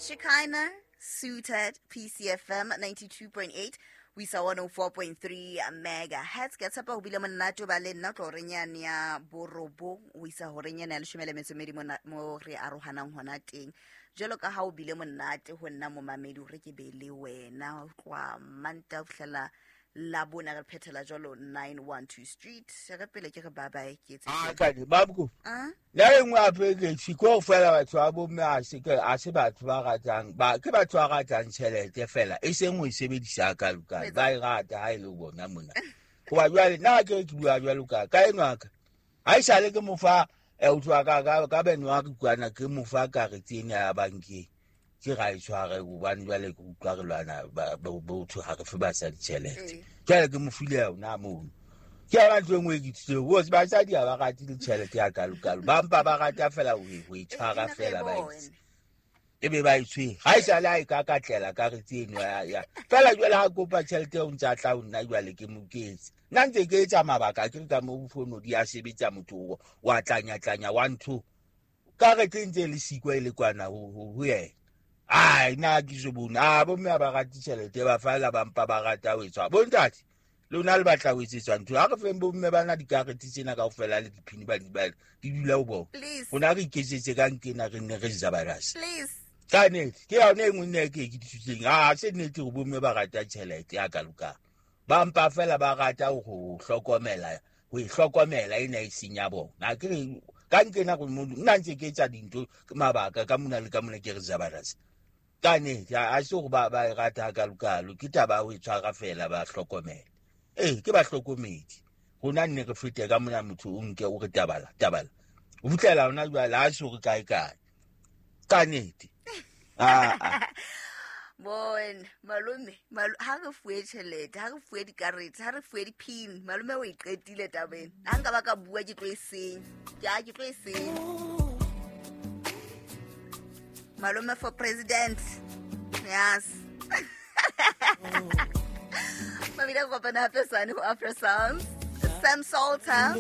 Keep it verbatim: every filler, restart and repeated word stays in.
Shekinah Suited P C F M ninety-two point eight ho isa one oh four point three megahertz. Ke tshepa ho bile monate ho ba le nna tlo horeng yane ya borobong ho isa horeng yane ya leshome le metso e mmedi mona mo re arohanang hona teng. Jwalo ka ha o bile monate ho nna momamedi hore ke be le wena ho tloha Mantaha ho fihlela Labone re phethela jwalo nine one two Street. Re pele ke re bye bye ke etse. Ah, ka di babuko. Ah? La e nngwe hape ke tjhe, ke hore fela batho ba bomme ha se ke, ha se batho ba ratang, ba, ke batho ba ratang tjhelete fela, e seng ho e sebedisa ka loka. Etsa. Ba e rata ha e le bona mona. Hoba jwale nna ke re ke bua jwalo ka, ka enwa ka. Ha esale ke mo fa, eh, o tswa ka, ka, ka beno wa re kwana, ke mo fa karete ena ya bankeng. Ke ra e tshware hobane jwale ke utlwa re lwana, ba, ba, botho ha re fe basadi tjhelete. Ee. Jwale ke mo file yona mono. Ke yona ntho e nngwe e ke ithutile, because basadi ha ba rate le tjhelete ya kalokalo. Ba mpa ba rata fela ho e, ho e tshwara E, e, fela ba e bone. ntse. E be ba e tshwere. Ha esale ha e ka katlela karete eno ya, ya. Fela jwale ha kopa tjhelete eo ntse a tla ho nna jwale ke mo ketse. Nna ntse ke etsa mabaka, ke re ka mo fono di a sebetsa motho o, wa tlanya-tlanya wa ntho. Karete e ntse e le siko e le kwana ho, ho, ho yena. Ai, nna ke so bone. Ah, bomme ha ba rate tjhelete, ba fela ba mpa ba rata ho etswa. Bontate, lona le batla ho etsetswa ntho. Ha re feng bomme bana dikarete tsena kaofela le diphini ba di ba di dula ho bona. Please. Rona re iketsetse ka nkena re nne re zabalase. Please. Ka nnete, ke yona e nngwe nna e ke ke ithuteng. Ah, se nnete hore bomme ba rata tjhelete ya kalokalo. Ba mpa fela ba rata ho hlokomela, ho e hlokomela ena e seng ya bona. Ha ke re ka nkena re mo, nna ntse ke etsa dintho mabaka ka mona le ka mona ke re zabalase. Ka nnete, ha se hore ba, ba e rata kalokalo, ke taba ya ho e tshwara fela ba hlokomela. Ee, ke bahlokomedi. Rona nne re fete ka mona motho o nke o re tabala, tabala. Ho fihlela hona jwale, ha se hore kae kae. Ka nnete. Ah, ah. Bon, malome, malo-, ha re fuwe tjhelete, ha re fuwe dikarete, ha re fuwe di-pin, malome o e qetile taba ena. Ha nka ba ka bua ke tlo e senya. Ke a, ke tlo e senya. Malome for president. Yes. Mamida kopana hape sane ho Afro Sounds. Sam Salter.